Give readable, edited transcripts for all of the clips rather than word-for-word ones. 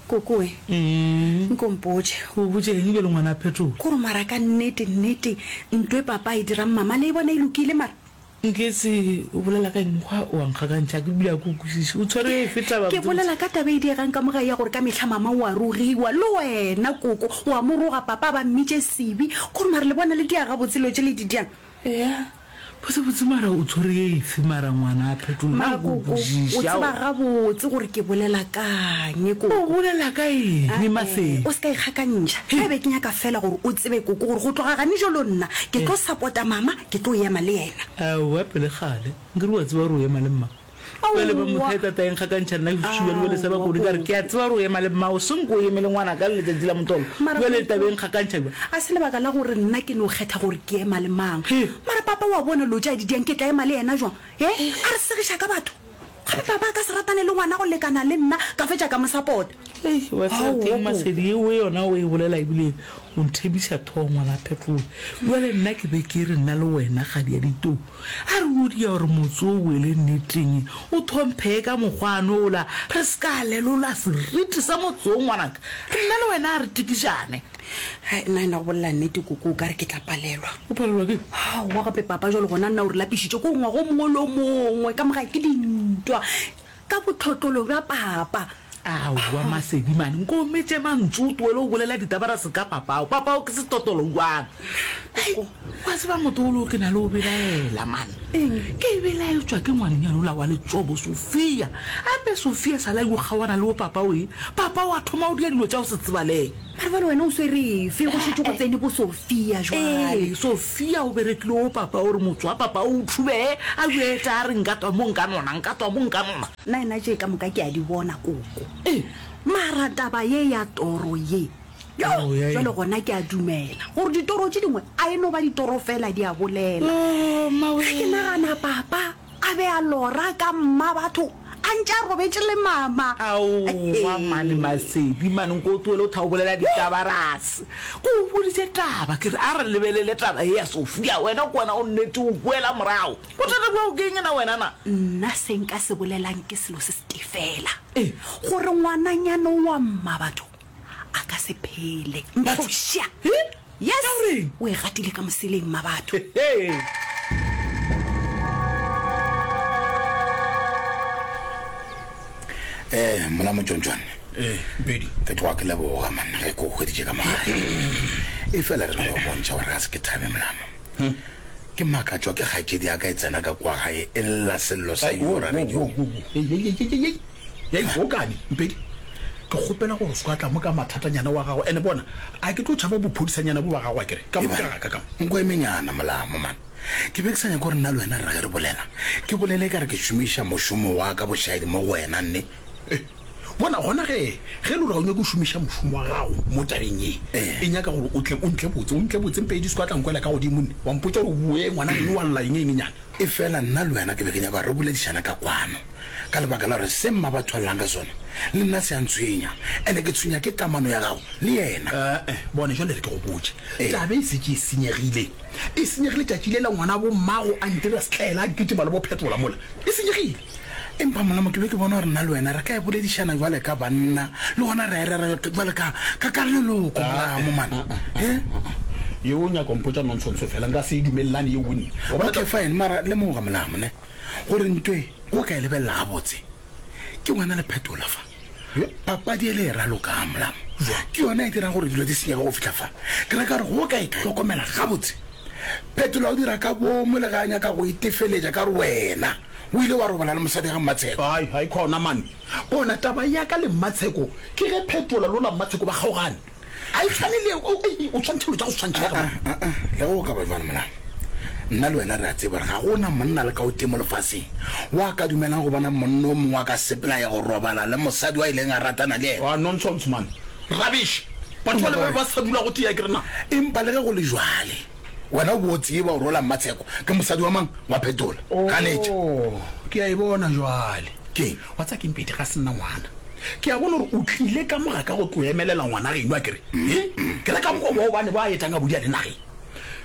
Kokoe, nko mpotše. Go botše eng bjale ngwana a phetola? Kore mara ka nnete, nnete, nto e papa a e dirang mama le e bona e lokile mara? Nketse, o bolela ka eng? Mokgwa o a nkgakantšha, ke bile ga ke o kwešiše. O tshwere efe taba Ke botsebotse? bolela ka taba e diegang ka mo gae ya gore ka mehla mama o a rogiwa. Le wena koko, o a mo roga, papa a ba mmitše sebi. Kore mara le bona le dia gabotse dilo tše le di diang? Eya, botsebotse mara o tshwere efe mara ngwana a phetola? Nna Mara ga ke o koko, o kwešiše, tseba aowa. gabotse gore ke bolela ka'ng, O koko. bolela ka eng, Ae, Masedi? o se ka ikgakantšha. Ge be ke nyaka feela gore o tsebe koko gore go tloga gane jalo nna ke tlo sapota mama, ke tlo ema le yena. Aowa, pele kgale. Nkere o a tseba gore o ema le mma. Bjale ba Aowa. motho a tata eng gakantšha nna ke šuba le bjale sa Aowa, bakone ka re ke a koko. tseba gore o ema le mmao senko o eme le ngwana ka le letšatši la motolo. Mara Bjale koko, taba e nkgakantšha bjang? a se lebaka la gore nna ke no kgetha gore ke ema le mang. He. Mara papa o a bona lo tše a di diang, ke tla ema le yena jwang? He, a re segiša ka batho. Gape papa a ka se ratane le ngwana go lekana le nna ka fetša ka mo sapota. Hei, wa tseba Aowa, ke'ng koko. Masedi, yeo yona o e bolela ebile o nthebiša thogo ngwana Phetole. Bjale nna ke be ke re nna le wena kgadi ya ditou. A re o dia gore motse o wele nneteng, o thomphee ka mokgwa ola, re se ka lelola seriti sa motse wo ngwanaka. Nna le wena a re tikišane. Hai, nna ena go bolela nnete koko o ka re ke tla palelwa. O palelwa ke? Aowa gape papa jwale gona nna o re lapišitše ko ngwaga o mongwe le o mongwe ka mogae ke dintwa ka bohlotlolo bja papa. Aowa Masedi mane, nko o metše mantšu o tlohele o bolela ditabara se ka papao. Papao ke setotolo jwang? Hei, wa tseba motolo ke na le o belaela mane. Eng? Ke belaetšwa ke ngwanenyana ola wa letšobo Sophia. Ape Sophia sala yo kgaoana le bo papao e, papao a thoma o dia dilo tša go se tsebalege. Mara bjale wena o swere efe? Go šetše go tsene bo Sophia jwale. Ee, Sophia o berekile go papa o re motse wa papa o thubee, a yo eta a re nka twa mo nka nona, nka twa mo nka nona. Nna tše ka moka ke a di bona koko. Mara taba ye ya toro ye, yo, jwale gona ke a dumela gore ditoro tše dingwe a e no ba ditoro fela di a bolela. Ge ke nagana papa a be a lora ka mma batho a ntše a robetše le mama. Aowa mane Masedi mane nko o tlohele o tha o bolela ditabarase. Ke o boditše taba ke re a re lebelele taba ye ya Sophia wena ke wena o nnete o boela morago. Bothata bja gago ke eng na wena na? Nna se nka se bolelang ke selo se setee fela, gore ngwananyana wa mmabatho a ka se phele. Mphoša! Yes! O e gatile ka moseleng, mmabatho. Eh, mola motšontšwane. Eh, Mpedi. Ke tloga ke leboga man ge ke o hweditše ka mogae. E fela re no go bontšha gore ga se ke thabe molamo. Ke makatšwa ke kgaetšedi ya ka e tsena ka kua gae e lla sello sa yora radiong. Hei, Gokane, Mpedi, ke kgopela gore o se ka tla mo ka mathatanyana wa gago. Ene bona, a ke tlo tšhaba bophodisanyana bo ba gago akere? Ka mo ka ga ka ka mo. Nko emenyana, Molamo, man. Ke be ke sa nyake gore nna le wena re re ge re bolela, ke bolele e ka re ke šomiša mošomo wa ka bošaedi mo go wena, nne. Bona, gona ge, ge e le gore ga o nyake go šomiša mošomo wa gago mo tabeng ye, e nyaka gore o tle o ntle botse, o ntle botse, Mpedi, se ka tla nkwela ka godimo nne, wa mpotša gore o boe ngwana geno wa lla eng eng nyana. Efela nna le wena ke be ke nyaka gore re boledišane ka kwano, ka lebaka la gore se mma ba thwalelang ka sona le nna se a ntshwenya, ene ke tshwenya ke kamano ya gago le yena. Ee, bona, jwale re ke go botše, taba e setše e senyegile. E senyegile tšatši lela ngwanabo mmago a ntira setlaela a kitima le bophetola mola. E senyegile. Empa Molamo, ke be ke bona gore nna le wena re ka e boledišana bjale ka banna, le gona ra e rera bjale ka, ka, ka leloko, Molamo, man. He? Yeo o nyaka go mpotša nonsense fela, nka se e dumelelane yeo nne. Wa bona Okay, fine, mara lemoga, Molamo, ne, gore nto e, o ka e lebelela gabotse, ke wena le Phetola fa. Papadi ele e ralokang, Molamo, ke yona e dirang gore dilo di senyege go fihla fa. Ke ra ka gore go ka e hlokomela gabotse, Phetola o dira ka boomo le ge a nyaka go itefeletša ka gore wena O ile wa robala le mosadi ga Mmatsheko. Hai, hai, khona man. Bona, taba ya ka le Mmatsheko ke ge Phetola lola Mmatsheko ba kgaogane. A e tshwane le, o, ei, o tshwantšha dilo tša go se tshwantšhege man. A-a, a-a, le ge o ka ba bjalo Molamo, nna le wena re a tseba gore ga go na monna le ka o tee mo lefaseng wa ka dumelang go bona monna o mongwe a ka sepela a ya go robala le mosadi wa ileng a ratana le yena. Ah, nonsense man. Rubbish. Batho bale ba be ba sa dula go tee akere na? Empa le ge go le jwale, Wena o bo o tseba gore ola Mmatsheko ke mosadi wa mang? Wa phetola. Ganetša. Oh, ke a e bona jwale. Keng? Wa tseba keng, Pedi, ga se nna ngwana. Ke a bona gore o tlile ka mo ga ka go tlo emelela ngwana geno, a ke re? He? Ke re ka mokgwa bao ba ne ba etang a bodia le nageng.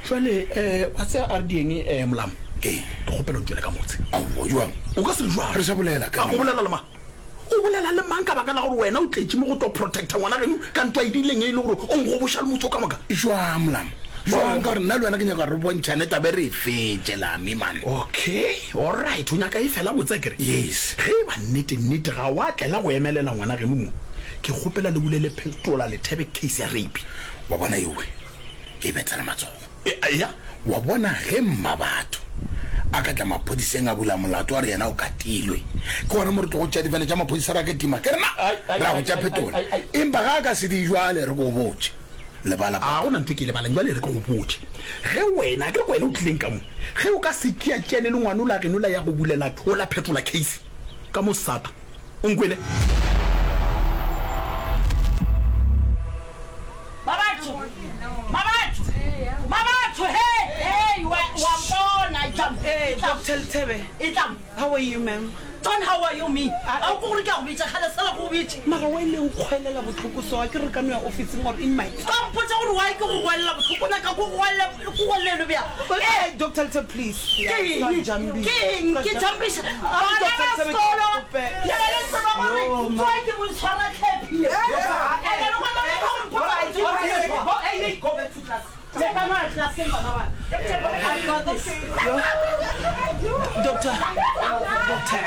Jwale, eh, wa tseba a re dieng, eh, Molamo? Keng? Ke kgopela o ntšwele ka motse. Aowa, jwang? O ka se re jwang? Re sa bolela ka A, o bolela le mang? O bolela le mang ka baka la gore wena o tletše mo go tlo protecta ngwana geno ka ntwa e dirileng e le gore o nkgoboša le motse o ka moka? Jwang, Molamo? Jwang? Ka gore nna le wena ke nyaka gore re bontšhane taba e re e fetše, Lami, man. Okay, alright, o nyaka e fela botse akere? Yes. Ge e ba nnete, nnete ga wa tlela go emelela ngwana geno mo, ke kgopela le bulele Phetola Lethebe case ya rape. Wa bona ewe, ke e bethela matsogo. Eya. Wa bona ge mmabatho a ka tla maphodiseng a bula molato a re yena o katilwe, ke gona mo re tlogo tšea difene tša maphodisa ra kitima ke rena ra go tša Phetola. Empa ga a ka se di jwale re ko botše. Lebala A go na ntho e ke e lebalang jwale re ke go botše. Ge wena, ke re ke wena o tlileng ka mo, ge o ka se tšeatšeane le ngwanola geno la ya go bulela la Phetola case ka mo SAPA, O nkwele? Mabatho, Mabatho, Mabatho, hey, hey, wa, wa mpona, etla mo, Hey, etla mo. Dr. Lethebe. Etla mo. How are you, ma'am? Don't how are you me? A o ko gore ke a go bitša, kgale sela ko go bitše. Mara wa ile nkgwelela bohloko so, a ke re ka no ya ofising or in my car. Ka mpotša gore why ke go gwelela bohloko, o nyaka ko go gwelela, ko gwelele bjang? Hey, Dr. Lethebe, please. Ke eng? Ke eng? Ke jampiša bana ba sekolo. Le be le tseba gore tsoa ke boitshwara tlhephi. Ene le gona le go mpotsa gore ke Doctor, doctor,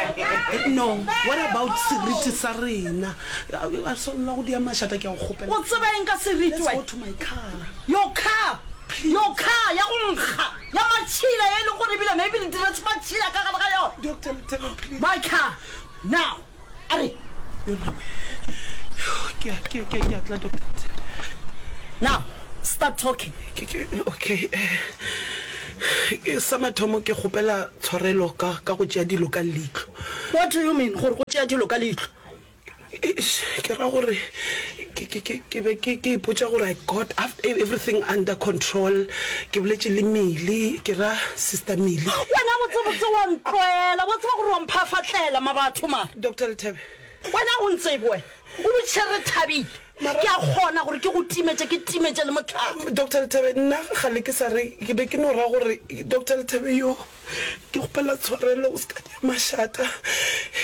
no, what about seriti sa rena? A swanela go dia mašata ke a go kgopela. O tseba eng ka seriti Let's wena? go to my car. Your car, your car ya go nkga. Ya matšhila ye e leng gore ebile maybe le diretše matšhila ka gare ga yona. Doctor Lethebe, please. My car, now. A re. Yo nna we. Ke a, ke, ke, ke a tla, Doctor Lethebe. Now, start talking. Ke, ke, okay. Eh, ke, sa mathomo ke kgopela tshwarelo ka, ka go tšea dilo ka leihlo. What do you mean gore go tšea dilo ka leihlo? Eish, ke ra gore ke, ke, ke, ke be ke, ke ipotša gore I got everything under control. Ke boletše le Millie, ke ra Sister Millie. Wena botsebotse wa ntlwaela, wa tseba gore wa mphafatlela mabatho mara. Doctor Lethebe. Wena o ntsebe wena, o botšiše Rethabile. Ke a kgona gore ke go timetše, ke timetše le mohlare. Doctor Lethebe, nna gale ke sa re, ke be ke no ra gore Doctor Lethebe yo. Ke kgopela tshwarelo o se ka dia mašata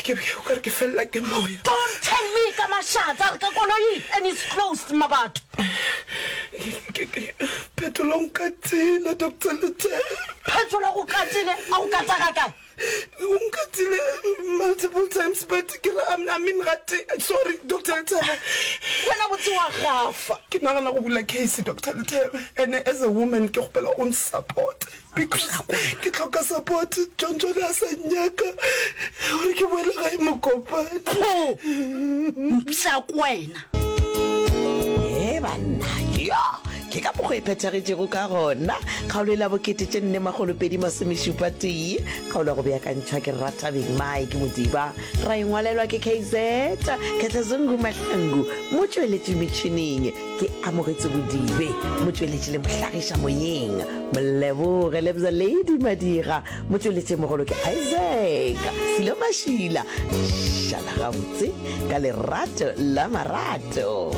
ke be o kare ke felela ke moya. Don't tell me ka mašata a re ka koloing and it's closed mabatho. Phetola o nkatile Doctor Lethebe. Phetola o go katile a go kata ga kae? O nkatile multiple times but ke ra I mean ga te sorry Doctor Lethebe. Wena botse wa gafa. Ke nagana go bula case Doctor Lethebe and as a woman ke kgopela o nsupport. Because ke hloka support, John John a sa nnyaka gore ke boele gae Mokopane. Pho! Mpša ko wena. He banna, yo ke ka mokgwa e phethagetšego ka gona kgaolo e la bokete tše nne makgolo pedi masomešupa tee kgaolo ya go beakantšhwa ke Rathabeng Mike Modiba ra e ngwalelwa ke KZ Khetlazungu Mahlangu motšweletši metšhineng Ke amogetše Bodibe, motšweletši le mohlagiša moyeng. Moleboge Lebza Lady Madira, motšweletši mogolo ke Isaac Silo Mašila. Šala gabotse ka lerato la marato.